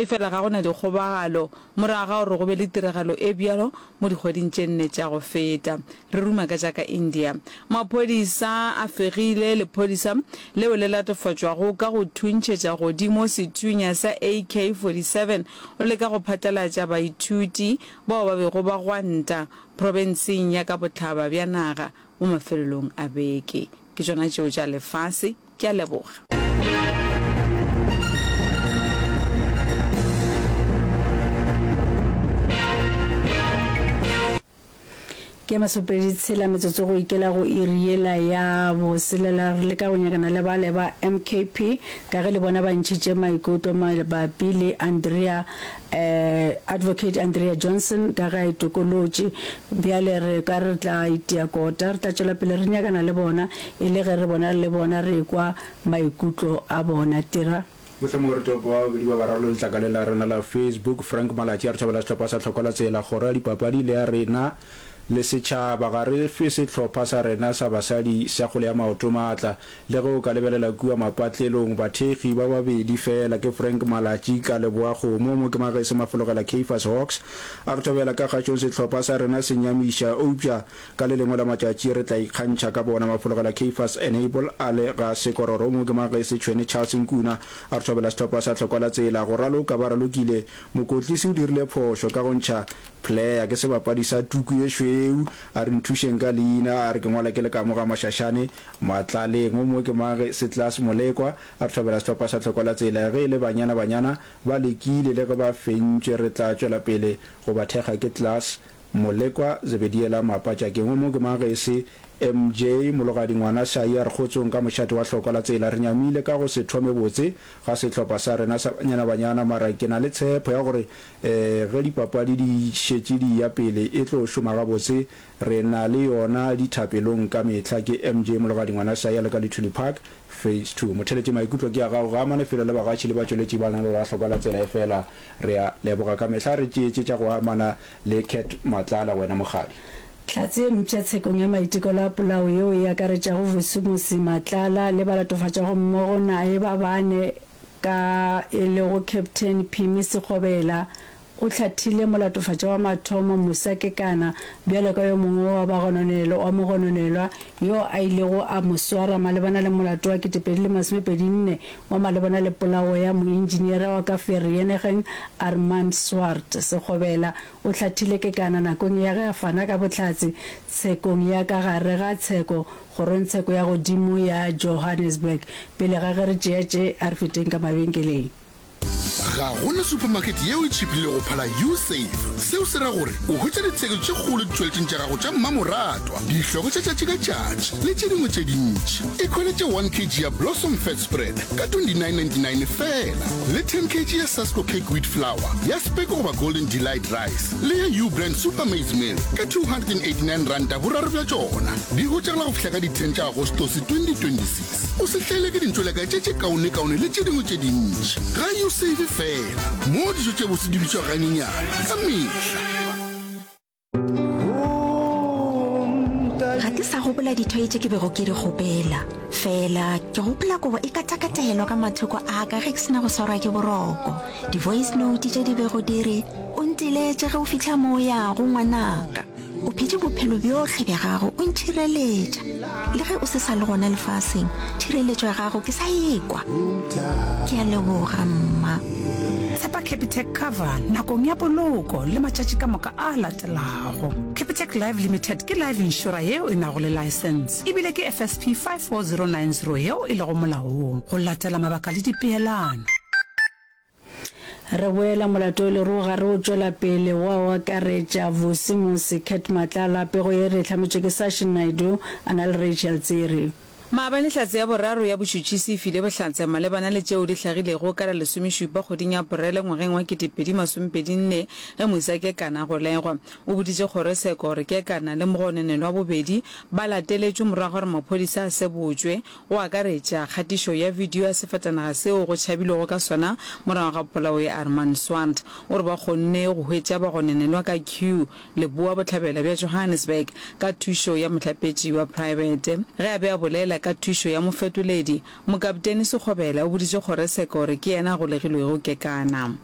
Efela ga go na dikgobagalo morago ga gore go be le tiragalo e bjalo mo dikgweding tše nne tša go feta. Re ruma ka tša ka India. Maphodisa a fegile lephodisa leo le latofatšwago ka go thuntšhetša godimo sethunya sa AK 47 go leka go phatlalatša baithuti bao ba bego ba gwanta profenseng ya ka bohlaba bja naga mo mafelelong a beke. Ke tšona tšeo tša lefase. Ke a leboga. Ke masomepedi tshela metsotso go ikela go iri yela ya boselela. Re leka go nyakana le bale ba MKP ka ge le bona ba ntšhitše maikutlo mabapi le Andrea eh, Advocate Andrea Johnson ka ge a itokolotše. Bjale re ka re tla itia kota, re tla tšwela pele re nyakana le bona e le ge re bona le bona re ekwa maikutlo a bona. Tira. Mohlomongwe re tope ba babedi ba bararo letlakaleng la rena la Facebook. Frank Malatji a re thabela sehlopha sa Tlhokwa la Tsela, kgoro ya dipapadi le ya rena le setšhaba. Ga re fe sehlopha sa rena sa basadi sa kgwele ya maoto maatla. Le ge o ka lebelela kua mapatlelong, bathekgi ba babedi feela ke Frank Malatji ka Leboa-Kgomo, mo ke Magese Mafologela Caiphus Hawks. A re thobela ka kgašong sehlopha sa rena se nyamiša, eupša ka le lengwe la matšatši re tla ikgantšha ka bona. Mafologela Caiphus Enable a le ga Sekororo, mo ke Magese Tšhwene Charles Nkuna. A re thobela sehlopha sa Tlhokwa la Tsela. Go raloka ba ralokile, mokotlisi o dirile phošo ka go ntšha Player ke sebapadi sa tuku ye šweu. A re nthušeng ka leina, a re ke ngwala ke le ka mo ga Mašašane. Matlaleng o mo ke mage Setlas Molekwa a re thobela sehlopha sa Tlhokwa la Tsela. Ge e le Banyana Banyana ba lekile le ge ba fentšwe re tla tšwela pele go ba thekga ke Tlas Molekwa Zebediela Mapatšakeng o mo ke mage se MJ Mologadi ngwana Shai a re kgotsong ka mošate wa Hlokwa la Tsela re nyamile ka go se thome botse ga sehlopha sa rena sa Banyana Banyana mara ke na le tshepo ya gore ge dipapadi di šetše di eya pele e tlo šoma gabotse Re na le yona dithapelong ka mehla ke MJ Mologadi ngwana Shaya le ka Luthuli Park Phase Two. Motheletši maikutlo ke a gago ga amane felo le bagatši le batšweletši ba lenaneo la Hlokwa la Tsela efela re a leboga ka mehla re tšeetše tša go amana le Cat Matlala wena Mokgadi. Hlatse ye mpsha tshekong ya maitekelo a polao yeo e akaretšago Vusimusi Matlala le balatofatšwagommogo naye ba bane ka e lego Captain Phimi Sekgobela, O hlathile molatofatša wa mathomo, Musa Kekana, bjalo ka yo mongwe wa bagononelo wa mogononelwa yo a ilego a mo swara malebana le molato wa 2024 wa malebana le polao ya moentšiniere wa ka Vereeniging Armand Swart. Sekgobela o hlathile Kekana nakong ya ge a fana ka bohlatse tshekong ya ka gare ga tsheko Kgorongtsheko ya Godimo ya Johannesburg. Pele ga ge re tšea tše, a re feteng ka mabenkeleng. Ga go na supermarket yeo e tšhiphilego go phala Usave. Seo se ra gore o hwetša ditsheketšo tše kgolo ditšweletšing tša gago tša mmamoratwa, dihlogo tša tšatši ka tšatši le tše dingwe tše dintši. Ikhweletše 1 kg ya Blossom Fat Spread ka 29.99 feela le 10 kg ya Sasko Cake Wheat Flour ya Speke goba Golden Delight Rice le ya U-Brand Super Maize Meal ka R289 boraro bja tšona. Di hwetšagala go fihla ka di 10 tša Agostose 2026. O se hlaelwe ke dintšoleka tše tše kaonekaone le tše dingwe tše dintši. Ga U save fela, moo dijo tše bose di bitšwa ganyenyane ka mehla. Ga ke sa gopola dithoyi tše ke bego ke di kgopela. Fela ke gopola kobo e katakatelwa ka mathoko a ka ge ke se na go swarwa ke boroko. Di-voice note tše di bego di re, O nteletše ge o fihla mo o yago, ngwanaka. O phetše bophelo bjohle bja gago o ntšhireletša. Le ge o se sa le gona lefaseng, tšhireletšo ya gago ke sa e kwa. Ke a leboga, mma. Tshepa Capitec Cover nakong ya poloko le matšatši ka moka a latelago. Capitec Life Limited ke life insurer yeo e nago le laesense ebile ke FSP 54090 yeo e lego molaong go latela mabaka le dipeelano. Re boela molato o leruo gare o tšwela pele wa o akaretša Vusi Musi, Cat Matlala. Pego ye re e hlametšwe ke Sashin Naidoo a na le Rachel Tsiri. Maabane hlatse ya boraro ya botšhotšhisi e file bohlatse malebana le tšeo di hlagilego ka la lesomešupa kgweding ya Aporele ngwageng wa 2024 ge Musa Kekana a golegwa. O boditše kgorotsheko gore Kekana le mogononelwa wa bobedi ba lateletšwe morago ga gore maphodisa a sebotšwe go akaretša kgatišo ya video ya sefatanaga seo go tšhabilwego ka sona morago ga polao ya Armand Swart. O re ba kgonne go hwetša bagononelwa ka Kew, leboa bohlabela bja Johannesburg, ka thušo ya mohlapetši wa praebete. Ge a be a bolela ka thušo ya mofetoledi, Mokaptene Sekgobela o boditše kgorotsheko gore ke yena a golegilwego Kekana.